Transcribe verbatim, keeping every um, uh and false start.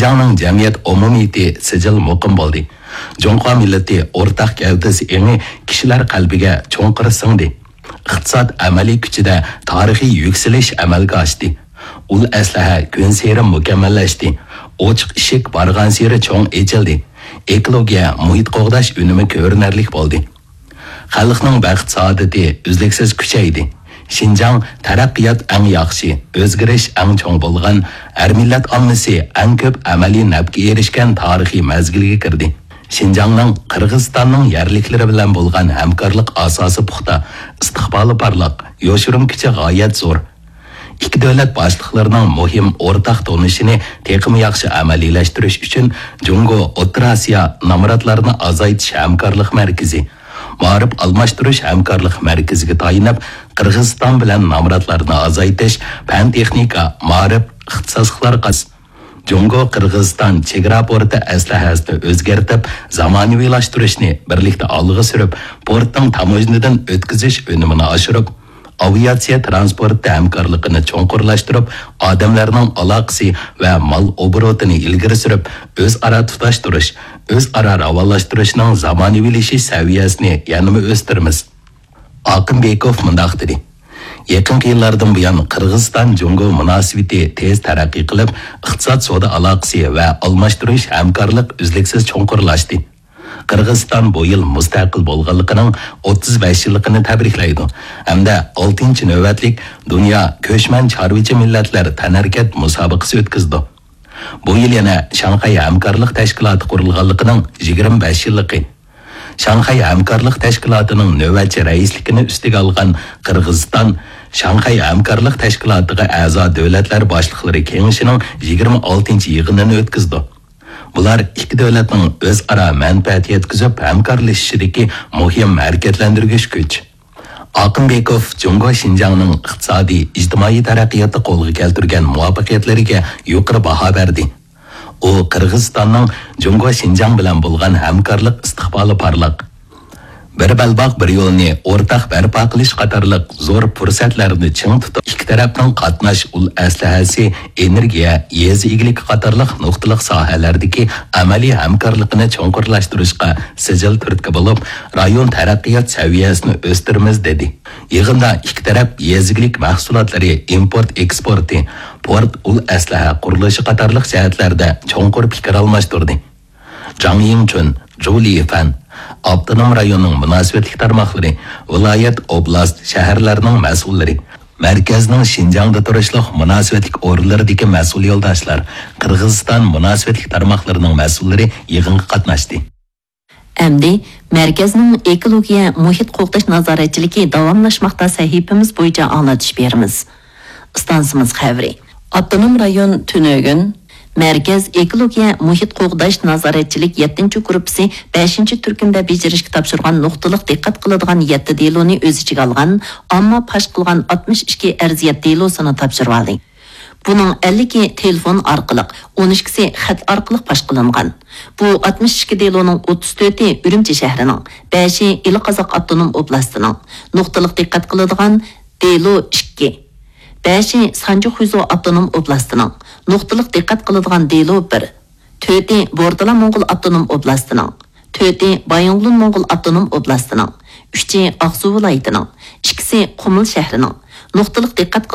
شىنجاڭنىڭ جەمئىيەت ئومۇمىيىتى سىجىل مۇقىم بولدى. جۇڭخۇا مىللىتى ئورتاق گەۋدىسى ئېڭى كىشىلەر قەلبىگە چوڭقۇر سىڭدى. ئىقتىساد ئەمەلىي كۈچىدە تارىخىي يۈكسىلىش ئەمەلگە ئاشتى. ئۇل ئەسلىھە كۈنسېرى مۇكەممەللەشتى. ئوچۇق ئىشىك بارغانسېرى چوڭ ئېچىلدى. ئېكولوگىيە، مۇھىت قوغداش ئۈنۈمى كۆرۈنەرلىك بولدى. خەلقنىڭ بەخت-سائادىتى ئۈزلۈكسىز كۈچەيدى. شىنجاڭ تەرەققىيات ئەڭ ياخشى، ئۆزگىرىش ئەڭ چوڭ بولغان، ھەر مىللەت ئاممىسى ئەڭ كۆپ ئەمەلىي نەپكە ئېرىشكەن تارىخىي مەزگىلگە كىردى. شىنجاڭنىڭ قىرغىزىستاننىڭ يەرلىكلىرى بىلەن بولغان ھەمكارلىق ئاساسى پۇختا، ئىستىقبالى پارلاق، يوشۇرۇن كۈچى غايەت زور. ئىككى دۆلەت باشلىقلىرىنىڭ مۇھىم ئورتاق تونۇشىنى تېخىمۇ ياخشى ئەمەلىيلەشتۈرۈش ئۈچۈن جۇڭگو ئوتتۇرا ئاسىيا نامراتلارنى ئازايتىش ھەمكارلىق مەركىزى، مائارىپ ئالماشتۇرۇش ھەمكارلىق مەركىزىگە تايىنىپ، قىرغىزىستان بىلەن نامراتلارنى ئازايتىش، پەن-تېخنىكا، مائارىپ، ئىختىساسلىقلارغا جۇڭگو قىرغىزىستان چېگرا پورتى ئەسلىھەسىنى ئۆزگەرتىپ، زامانىۋىلاشتۇرۇشنى بىرلىكتە ئالغا سۈرۈپ، پورتنىڭ تاموژنىدىن ئۆتكۈزۈش ئۈنۈمىنى ئاشۇرۇپ، ئاۋىئاتسىيە تىرانسپورتى ھەمكارلىقىنى چوڭقۇرلاشتۇرۇپ، ئادەملەرنىڭ ئالاقىسى ۋە مال ئوبوروتىنى ئىلگىرى سۈرۈپ، ئۆزئارا تۇتاشتۇرۇش، ئۆزئارا راۋانلاشتۇرۇشنىڭ زامانىۋىلىشىش سەۋىيەسىنى يەنىمۇ ئۆستۈرىمىز. ئاقىنبېكوف مۇنداق دېدى، يېقىنقى يىللاردىن بۇيان قىرغىزىستان جۇڭگو مۇناسىۋىتى تېز تەرەققىي قىلىپ، ئىقتىساد سودا ئالاقىسى ۋە ئالماشتۇرۇش ھەمكارلىق ئۈزلۈكسىز چوڭقۇرلاشتى. قىرغىزىستان بۇ يىل مۇستەقىل بولغانلىقىنىڭ ئوتتۇز بەش يىللىقىنى تەبرىكلەيدۇ ھەمدە ئالتىنچى نۆۋەتلىك دۇنيا كۆچمەن چارۋىچى مىللەتلەر تەنھەرىكەت مۇسابىقىسى ئۆتكۈزىدۇ. بۇ يىل يەنە شاڭخەي ھەمكارلىق تەشكىلاتى قۇرۇلغانلىقىنىڭ يىگىرمە بەش يىللىقى. شاڭخەي ھەمكارلىق تەشكىلاتىنىڭ نۆۋەتچى رەئىسلىكىنى ئۈستىگە ئالغان قىرغىزىستان شاڭخەي ھەمكارلىق تەشكىلاتىغا ئەزا دۆلەتلەر باشلىقلىرى كېڭىشىنىڭ يىگىرمە ئالتىنچى يىغىنىنى ئۆتكۈزىدۇ. بۇلار ئىككى دۆلەتنىڭ ئۆزئارا مەنپەئەت يەتكۈزۈپ ھەمكارلىشىشىدىكى مۇھىم ھەرىكەتلەندۈرگۈچ كۈچ. ئاقىنبېكوف جۇڭگو شىنجاڭنىڭ ئىقتىسادىي، ئىجتىمائىي تەرەققىياتتا قولغا كەلتۈرگەن مۇۋەپپەقىيەتلىرىگە يۇقىرى باھا بەردى. ئۇ قىرغىزىستاننىڭ جۇڭگو شىنجاڭ بىلەن بولغان ھەمكارلىق ئىستىقبالى پارلاق. بىر بەلباغ، بىر يولنى ئورتاق بەرپا قىلىش قاتارلىق زور پۇرسەتلەرنى چىڭ تۇتۇپ، ئىككى تەرەپنىڭ قاتناش ئۇل ئەسلىھەسى، ئېنېرگىيە، يېزا ئىگىلىكى قاتارلىق نۇقتىلىق ساھەلەردىكى ئەمەلىي ھەمكارلىقىنى چوڭقۇرلاشتۇرۇشقا سىجىل تۈرتكە بولۇپ، رايون تەرەققىيات سەۋىيەسىنى ئۆستۈرىمىز، دېدى. يىغىندا ئىككى تەرەپ يېزا ئىگىلىك مەھسۇلاتلىرى ئىمپورت ئېكسپورتى، پورت ئۇل ئەسلىھە قۇرۇلۇشى قاتارلىق جەھەتلەردە چوڭقۇر پىكىر ئالماشتۇردى. جاڭ يىڭچۈن، جۇ لىفەن، ئاپتونوم رايوننىڭ مۇناسىۋەتلىك تارماقلىرى، ۋىلايەت، ئوبلاست، شەھەرلەرنىڭ مەسئۇللىرى، مەركەزنىڭ شىنجاڭدا تۇرۇشلۇق مۇناسىۋەتلىك ئورۇنلىرىدىكى مەسئۇل يولداشلار، قىرغىزىستان مۇناسىۋەتلىك تارماقلىرىنىڭ مەسئۇللىرى يىغىنغا قاتناشتى. ئەمدى مەركەزنىڭ ئېكولوگىيە، مۇھىت قوغداش نازارەتچىلىكى داۋاملاشماقتا سەھىپىمىز بويىچە ئاڭلىتىش بېرىمىز. ئىستانسىمىز خەۋىرى. ئاپتونوم رايون تۈنۈگۈن مەركەز ئېكولوگىيە، مۇھىت قوغداش نازارەتچىلىك يەتتىنچى گۇرۇپپىسى بەشىنچى تۈركۈمدە بېجىرىشكە تاپشۇرغان نۇقتىلىق دىققەت قىلىدىغان يەتتە دېلونى ئۆز ئىچىگە ئالغان ئامما پاش قىلغان ئاتمىش ئىككى ئەرزىيەت دېلوسىنى تاپشۇرۇۋالدى. بۇنىڭ ئەللىكى تېلېفون ئارقىلىق، ئون ئىككىسى خەت ئارقىلىق پاش قىلىنغان. بۇ ئاتمىش ئىككى دېلونىڭ ئوتتۇز تۆتى ئۈرۈمچى شەھىرىنىڭ، بەشى ئىلى قازاق ئاپتونوم ئوبلاستىنىڭ. نۇقتىلىق دىققەت قىلىدىغان دېلو ئىككى، بەشى سانجى خۇيزۇ ئاپتونوم ئوبلاستىنىڭ. نۇقتىلىق دىققەت قىلىدىغان دېلو بىر، تۆتى بوردىلا موڭغۇل ئاپتونوم ئوبلاستىنىڭ، تۆتى بايىنغولىن موڭغۇل ئاپتونوم ئوبلاستىنىڭ، ئۈچى ئاقسۇ ۋىلايىتىنىڭ، ئىككىسى قۇمۇل شەھىرىنىڭ. نۇقتىلىق دىققەت قىلىدىغان